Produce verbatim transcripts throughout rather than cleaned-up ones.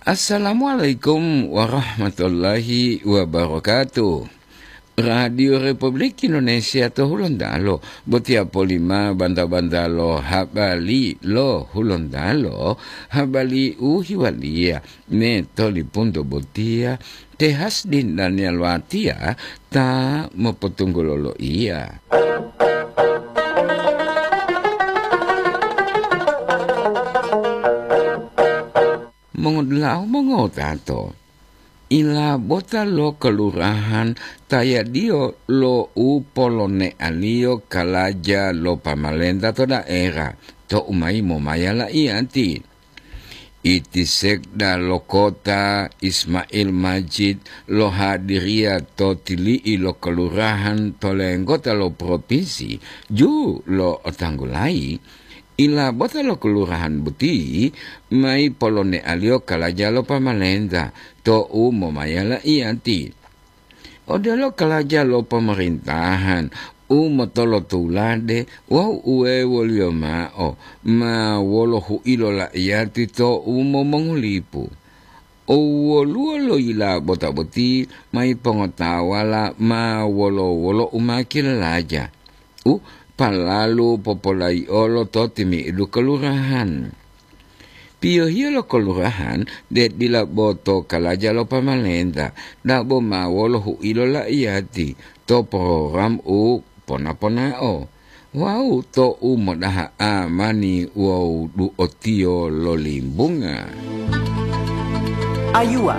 Assalamualaikum warahmatullahi wabarakatuh. Radio Republik Indonesia to Hulontalo, botiya polima banta-banta lo habari lo Hulontalo, habari u hiwaliya me tolipunto botiya, te Hasdin Daniel Watiya ta mopotunggulo loiya. Mongodulahu mongotato, ilabota lo kelurahan tayadiyo lo u polonealiyo kalaja lo pamalenta to daerah to umayi momaya laiyati. Iti sekda lo kota Ismail Majid lohadiriya to tili'i lo kelurahan to lenggota lo propinsi ju lo otanggulayi, ilabota lo kelurahan boti mayi polonealiyo kalaja lo pamalenta to u momaya laiyati. Odelo kalaja lo pemerintahan u motolotulade wawu uwewoliyo ma'o ma wolo hu'ilo laiyati to u momongulipu. O woluwo lo yilabota boti mayi pongotawala ma wolo-wolo u ma kilalaja, u palalu popolayi'olo to timi'idu kelurahan. Piyohiyo lo kelurahan de dila bo to kalaja lo pamalenta, dabo ma wolo hu'ilo laiyati to program u pona-ponao wawu to u modaha amani wawu du'otiyo lo limbunga. Ayuwa.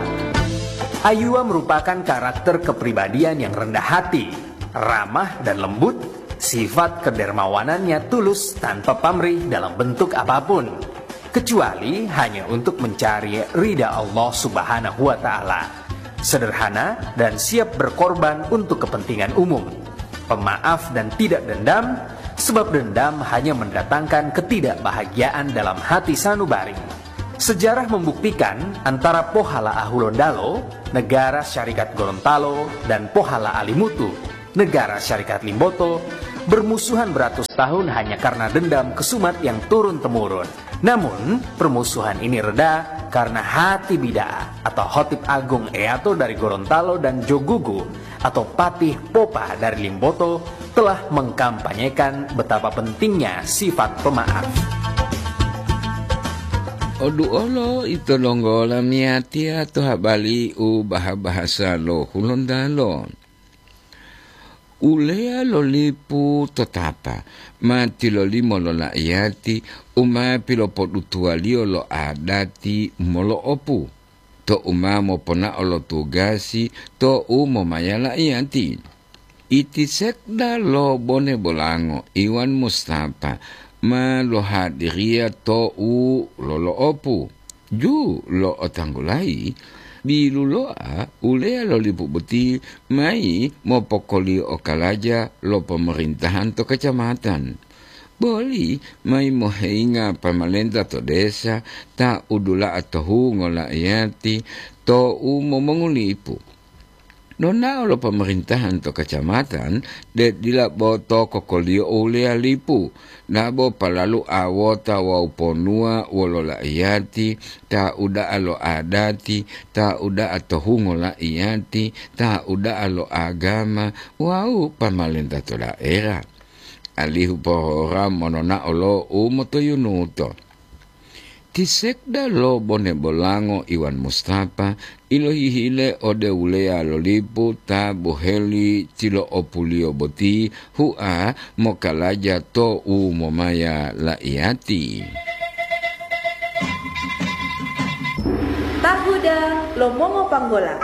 Ayuwa merupakan karakter kepribadian yang rendah hati, ramah dan lembut, sifat kedermawanannya tulus tanpa pamrih dalam bentuk apapun, kecuali hanya untuk mencari ridha Allah Subhanahu wa Ta'ala. Sederhana dan siap berkorban untuk kepentingan umum. Pemaaf dan tidak dendam, sebab dendam hanya mendatangkan ketidakbahagiaan dalam hati sanubari. Sejarah membuktikan antara Pohala Ahulondalo, Negara Syarikat Gorontalo, dan Pohala Alimutu, Negara Syarikat Limboto, bermusuhan beratus tahun hanya karena dendam kesumat yang turun-temurun. Namun, permusuhan ini reda karena hati bida'a atau Hotip Agung Eato dari Gorontalo dan Jogugu atau Patih Popa dari Limboto telah mengkampanyekan betapa pentingnya sifat pemaaf. Oduolo ito donggo lamiyatiya to habari u baha-bahasa lo Hulontalo. Uleya lo lipu to tapa ma tilolimo lo la'iyati u ma pilopodutuwaliyo lo adati molo'opu to u ma moponao lo tugasi to u momaya la'iyati. Iti sekda lo bone bolango Iwan Mustafa ma lohadiriya to u lolo'opu. Ju lo otanggulayi, biluloa uleya lo lipu boti mayi mopokoliyo okalaja lo pomarentahan to kacamatan. Boli mayi moheyinga pamalenta to desa ta udula'a to hungo la'iyati to u momongulipu. Nonao lo pemerintahan to kacamatan, de dila bo to kokoliyo uleya lipu, dabo palalu awota wawu ponuwa wolo la'iyati, ta uda'a lo adati, ta uda'a to hungo la'iyati, ta uda'a lo agama wawu pamalenta to daerah, alihu pohora mononao lo u motoyunuto. Ti sekda lo bone bolango Iwan Mustafa ilohihile ode uleya lo lipu ta boheli tilo'opuliyo boti hua mokalaja to u momaya la'iyati. Tahuda lo mongopanggola.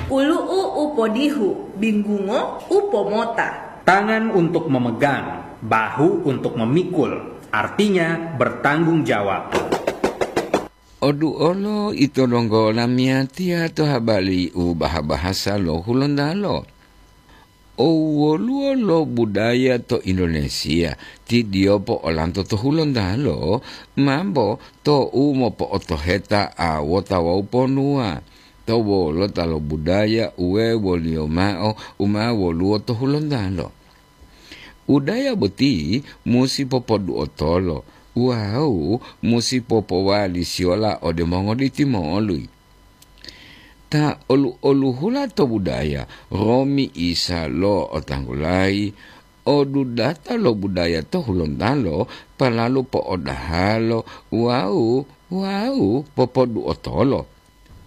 Ulu'u u podihu, binggungo u pomota. Tangan untuk memegang, bahu untuk memikul, artinya bertanggung jawab. Oduolo ito donggo lamiyatiya to habari u baha-bahasa lo Hulontalo. O woluwo lo budaya to Indonesia ti diyopo olanto to Hulontalo mambo to u mopo'otoheta awota wawu ponuwa to wolota lo budaya uwe woliyo ma'o u ma woluwo to Hulontalo. Budaya boti musi popodu'otolo Wawu musi popowali siyola ode mongoditi moli. Ta olu-oluhula to budaya, romi isa lo otanggulayi, odudata lo budaya to Hulontalo, palalu po'odahalo wawu, wawu popoduotolo.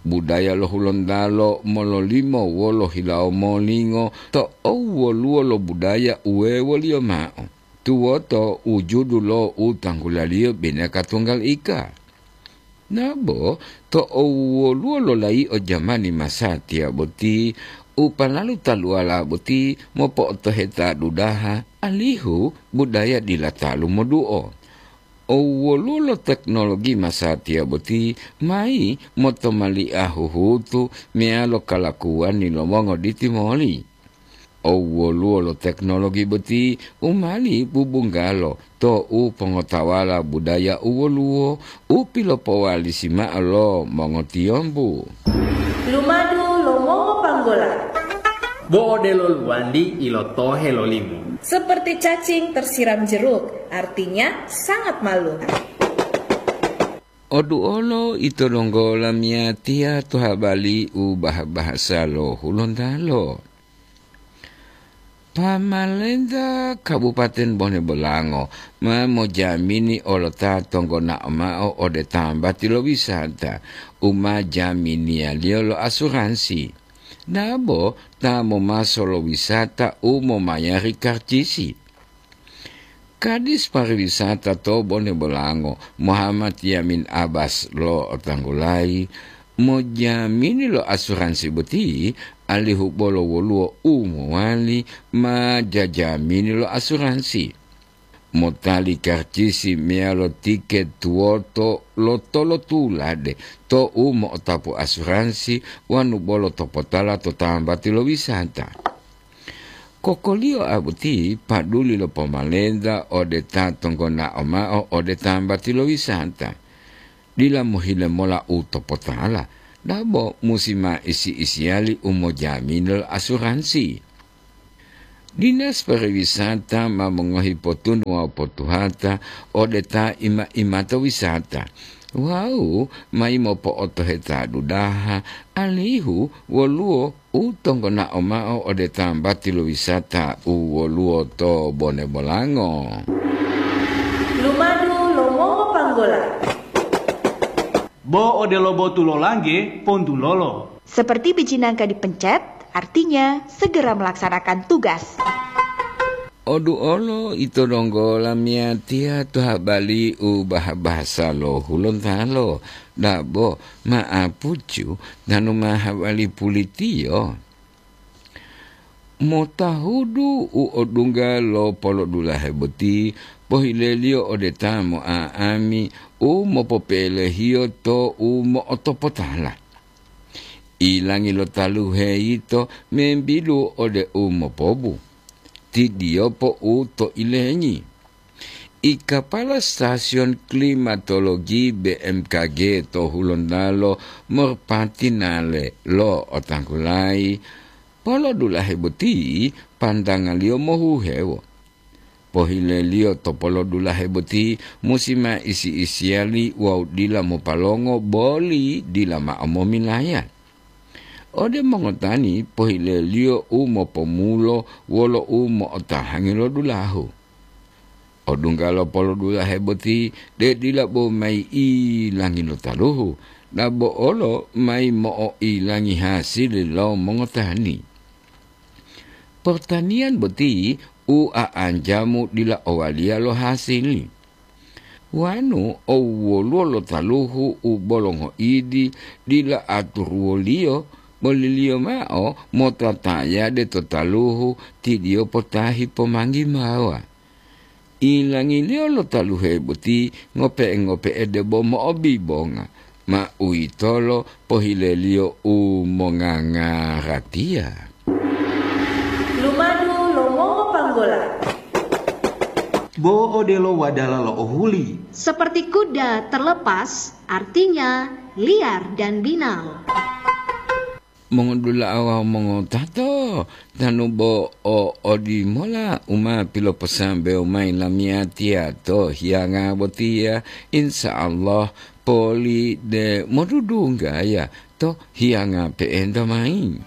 Budaya lo Hulontalo mololimo wolo hilawo molingo to owwoluwo lo budaya u wewoliyo ma'o, tuwoto wujudu lo u tanggulaliyo bineka tunggal ika. Nabo to owwoluwo lo layi'o jamani masatiya boti, u palalu taluwala boti mopo'otoheta dudaha, alihu budaya dila talu moduo. Owwoluwo lo teknologi masatiya boti mayi motomali'a huhutu meyalo kalakuwani lo mongoditi moli. Owwoluwo lo teknologi boti u mali bubunggalo to u pongotawala budaya u woluwo u pilopowalisi ma'o lo mongotiyombu. Lumadu lo mongopanggola. Bo odelo luwandi ilotohe lo limu. Seperti cacing tersiram jeruk, artinya sangat malu. Oduolo ito donggo lamiyatiya to habali u bah-bahasa lo Hulontalo. Pamalenta Kabupaten Bone Bolango ma mojamini olota tonggonao ma'o ode tambati lo wisata u ma jaminiyaliyo lo asuransi, dabo ta momaso lo wisata u momayari karcisi. Kadis Pariwisata to Bone Bolango, Muhammad Yamin Abbas lo'otanggulayi, mojamini lo asuransi boti, alihu bolo woluwo u mowali ma jajamini lo asuransi. Motali karcisi meyalo tiket tuwoto lo tolotulade to u mo'otapu asuransi wanu bolo topotala to tambati lo wisata. Kokoliyo a boti paduli lo pomalenta ode ta tonggonao ma'o ode tambati lo wisata. Dila mohile mola u topotala, dabo musi ma isi-isiyali u mojamini lo asuransi. Dinas Pariwisata ma mongohi potunu wawu potuhata ode ta ima-imata wisata, wawu mayi mopo'otoheta dudaha alihu woluwo u tonggonao ma'o ode tambati lo wisata u woluwo to Bone Bolango. Lumadu lo mongopanggola. Bo odelo botu lo langge, pontulolo. Seperti biji nangka dipencet, artinya segera melaksanakan tugas. Odu olo ito donggo lamiyatiya to habali u bah-bahasa lo Hulontalo, dabo ma'apucu tanu ma habali pulitiyo. Motahudu u odungga lo polodulahe boti pohileliyo ode ta mo'a'ami u mopopelehiyo to u mo'otopotala. Ilangi lo taluhe yito membidu ode u mopobu. Tidiyopo u to ilengi. I kapala stasiyon klimatologi B M K G to Hulontalo morpati nale lo otanggulayi, polodulahe boti pantangaliyo mohuhewo. Pohileliyo to polodulahe boti musi ma isi-isiyali wawu dila mopalongo boli dila ma'o momilaya. Ode mongotani pohileliyo u mopomulo wolo u mo'otahangi lo dulahu. Odungga lo polodulahe boti de dila bo mayi ilangi lo taluhu, dabo olo mayi mo'oilangi hasili lo mongotani. Pertaniyan boti u a'anjamu dila owaliya lo hasili. Wanu owwoluwo lo taluhu u bolo ngoidi dila aturuwoliyo, boliliyo mao motatayade to taluhu tidiyo potahi pomanggi mawa. Ilangiliyo lo taluhe boti ngope'e-ngope'e debo mo'obibonga, ma uwitolo pohileliyo u mongangaratiya. Lumadu lo mongopanggola. Bo odelo wadala lo ohuli. Seperti kuda terlepas, artinya liar dan binal. Mongodula'a wawu mongotato, tanu bo o odimola u ma piloposambewo mayi lamiyatiya to hiyanga botiya, insya Allah poli de modudunggaya to hiyanga pe'enta mayi.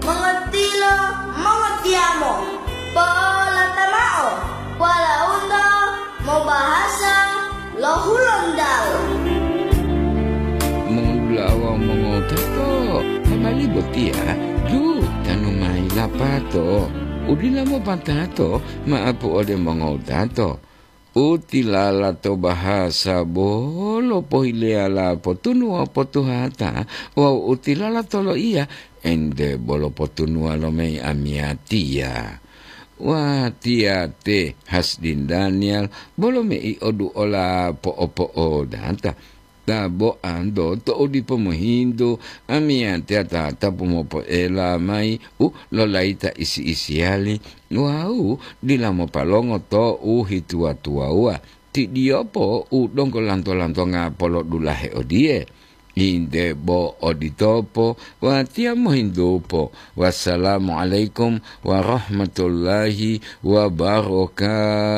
Mongotilo, mongotiyamo, polata mao, polaunto mobahasa lo Hulontalo. Mongudula'a wawu mongotato, habari botiya jutanu mayi lapato. Udila mopatato ma'apu ode mongotato. Utilala to bahasa bolo pohileyala potunuwa potuhata wawu utilala to loiya ente bolo potunuwa lo mei amiyatiya. Watiya te Hasdin Daniel bolo mei oduola po'opo'odata. Ta bo anto to'u dipo mohintu, amiyatiya ta tapu mopoela mayi u lolayita isi-isiyali wawu dila mopalongo to'u hituwa-tuwawuwa. Ti diyopo u donggo lanto-lantonga polodulahe odiye, inde bo oditopo watiya mohintupo. Wassalamualaikum warahmatullahi wabarakatuh.